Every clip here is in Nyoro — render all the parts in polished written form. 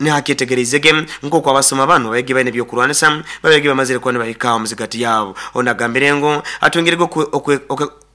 Nihakyetegereizege nk'oku abasuma banu babaire baine ebyokurwanisa babaire bamazire kuba nibahika omu zigati yaabo. Onu agambire ngu atungirege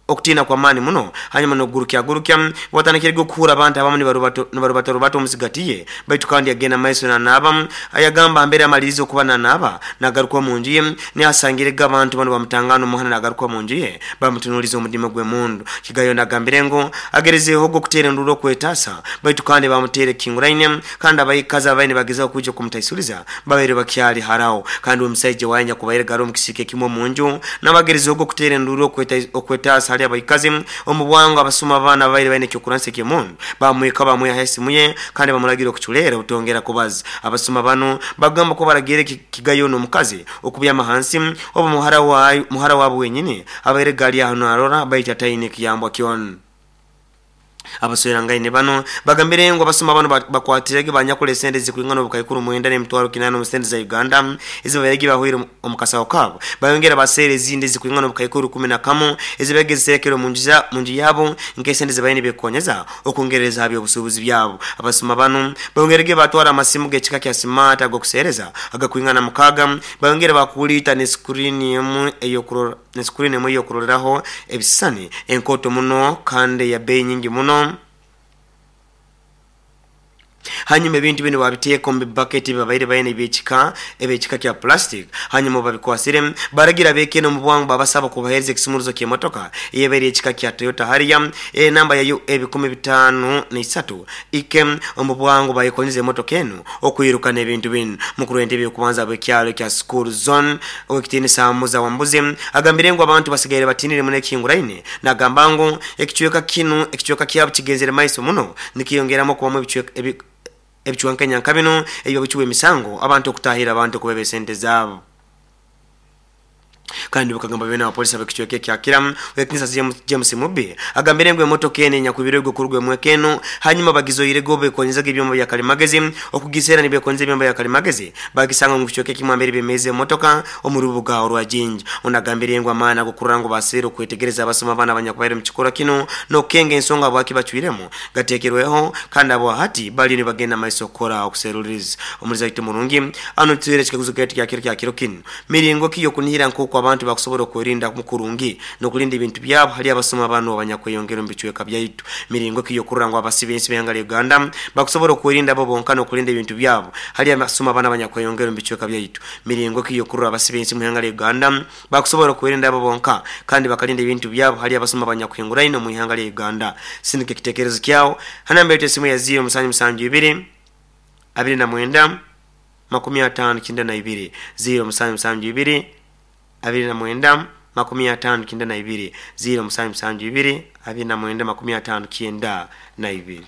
okutiina kw'amaani muno hanyuma n'okugurukyagurukya ngu atandikirege okuhurra abantu abamu nibarubatarubata omu zigati ye baitu kandi yagenda mumaiso nanaaba. Yagamba mbere amalirize okuba nanaaba nagaruka omunju ye niho asangirege abantu banu bamutangaana omu muhanda nagaruka omunju ye bamutunulize omudimo gw'emundu. Kigayo nagambire ngu agerezeehoga okuteera enduuru okwetaasa baitu kandi bamuteera ekihinguraine kandi abaikazi ababaire nibagezaho kwija okumutaisuliza babaire bakyali haraho kandi omusaija waye anyakubaire gari omu kisiika ekimu omunju nabo agerezeehoga okuteera enduuru okwetaasa hali abaikazi. Omu bwangu abasuma banu ababaire baine ekyokurwanisa eky'emundu bamwikaho bamwihaho esimu ye kandi bamuragira okuculeera obutongera kubaza. Abasuma banu bagamba kuba baragiire Kigayo n'omukazi okubyama hansi obu muhara waabo wenyini abaire gari aho narora baitu ataine kiyambwa kyona. Abaswerangaine banu bagambire ngu abasuma banu bakwatirege banyakula esente ezikwingana obukaikuru mwenda n'emitwaro kinaana omu sente za Uganda ezibabairege bahweire omu kasaho kaabo bayongera baseera ezindi ezikwingana obukaikuru ikumi na kamu ezibairege ziserekere omu nju yaabo nk'esente ezibaire nibekonyeza okwongerereza aha by'obusuubuzi byabo. Abasuma banu bayongerege batwara amasimu g'ekika kya smart ag'okuseereza agakwingana mukaaga bayongera bakuliita n'esikurini emu ey'okuroreraho ebisisani enkooto muno kandi eya bbeeyi nyingi muno. Hanyuma ebintu binu babiteeka omu bibbaketi ebi babaire baine eby'ekika kya plastic. Hanyuma obu babikwasire, baragira ab'eka enu omu bwangu babasaba kubaheereza ekisumuruzo ky'emotoka eyabaire y'ekika kya Toyota Harrier enamba yayo 5003 Ike. Omu bwangu bayekonyeza emotoka enu okwiruka n'ebintu binu. Mukuru w'entebe y'okubanza ab'ekyaro ekya School Zone, Ow'ekitiinisa Muza Wambuzi agambire ngu abantu basigaire batiinire muno ekihinguraine. Nagamba ngu ekicweka kinu ekicweka kyabo kigenzere maiso muno nikeyongeramu okubamu ebicwankenya nka binu eby'obucwi bw'emisango abantu okutahirra abantu okubeba esente zaabo. Kandi bukagamba byona abapolisi ab'ekicweka ekya Kira, ow'ekitinisa James Mubi agambire ngu emotoka enu enyakwibirwege okuruga omu eka enu hanyuma bagizoirege obu bekonyezaga ebyoma bya kalimagezi okugiseera nibekonyeza ebyoma bya kalimagezi bagisanga omu kicweka ekimu ambere bemeeza emotoka omu rubuga orwa Jinja. Onu agambire ngu amaani ag'okurora ngu baseera okwetegereza abasuma banu abanyakubaire omu kikorwa kinu n'okukenga ensonga habwaki bacwiremu gateekerweho kandi abo hati baliyo nibagenda maiso kukora okuseruliriza. Omulizi waitu murungi anu tuhaire ekikaguzo kyaitu kya kiro kya kiro kinu. Miringo ki y'okunihira nk'oku abantu bakusobora okwerinda kurungi n'okulinda ebintu byabo hali abasuma banu abanyakweyongera omu bicweka byaitu? Miringo ki y'okurora ngu abasi b'ensi b'ihanga lya Uganda bakusobora okwerinda bo bonka n'okulinda ebintu byabo hali abasuma banu abanyakweyongera omu bicweka byaitu? Miringo ki y'okurora abasi b'ensi mu ihanga lya Uganda bakusobora okwerinda bo bonka kandi bakalinda ebintu byabo hali abasuma abanyakuhinguraine omu ihanga lya Uganda? Sindika ekitekerezo kyawe ha namba yaitu esimu ya 0 7 7 2 29 59 0 7 7 2 29 59 0 7 7 2 29 59.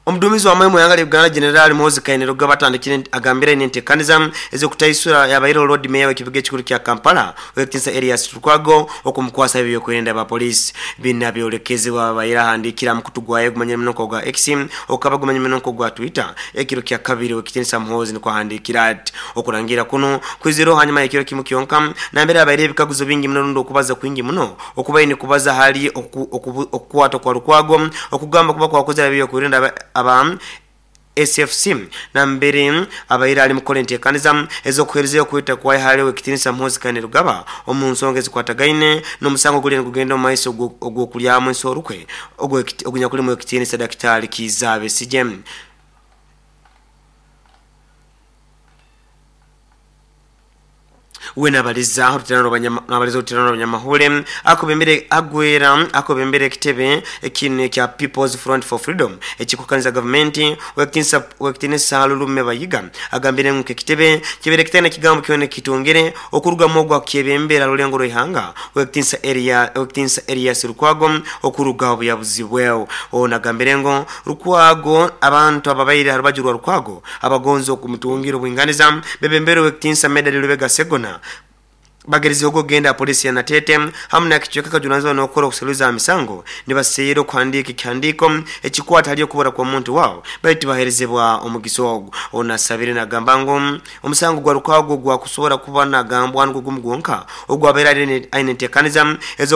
Omuduumizi w'amahe mu ihanga lya Uganda Jenerali Muhoozi Kainerugaba atandikire agambire aine entekaniza ez'okutaisura yabaireho Loodi Meeya w'ekibuga ekikuru kya Kampala Ow'ekitiinisa Erias Lukwago okumukwasa ebyokwerinda bya poliisi. Binu abyolekezibwa abaire ahandiikire aha mukutu gwaye ogumanyire muno nk'ogwa X okukaba gumanyire muno nk'ogwa Twitter ekiro kya kabiri. Ow'ekitiinisa Muhoozi nikwo ahandiikire ati, Okurangiira kunu kwizireho hanyuma y'ekiro kimu kyonka nambere habaireho ebikaguzo bingi muno rundi okubaza kwingi muno okubaire nikubaza hali okukwatwa kwa Lukwago okugamba kuba kwakozere ab'ebyokwerinda aba SFC nambere abaire ali mukukora entekaniza ez'okuherezayo okweta kwaye hali Owekitinisa Muhoozi Kainerugaba omu nsonga ezikwatagaine n'omusango oguliyo nigugenda omu maiso ogw'okulyamu ensi orukwe ogunyakulimu Owekitinisa Dakitaali Kiiza Besigye. We nabaliza oruterano rw'abanyamahule akubembere agwera akubembere ekitebe kinu ekya People's Front for Freedom ekikuhakaniza gavumenti Owekitinisa Lulume Bayiga agambire ngu nk'ekitebe kibaire kitaine kigambo kyona ekitungire okurugamu ogu akukyebembera rulengo rw'eihanga Owekitinisa Erias Lukwago okuruga obuyabuzibweho. Ono agambire ngu Lukwago abantu ababaire aharubaju rwa Lukwago Abagonza okumutungira obwinganiza bebembere Owekitinisa Medard Lubega Ssegona bagerizeho okugenda aha poliisi ya Nateete hamu n'akicweka akajunanizibwa n'okukora okuseruliza aha misango nibaseera okuhandiika ekihandiiko ekikwata hali okubura kw'omuntu waabo baitu tibaherezebwa omugisa ogu. Ono asabire nagamba ngu omusango gwa Lukwago gwakusobora kuba nagambwa nugwo gumu gwonka ogwabaire aine entekaniza ezo.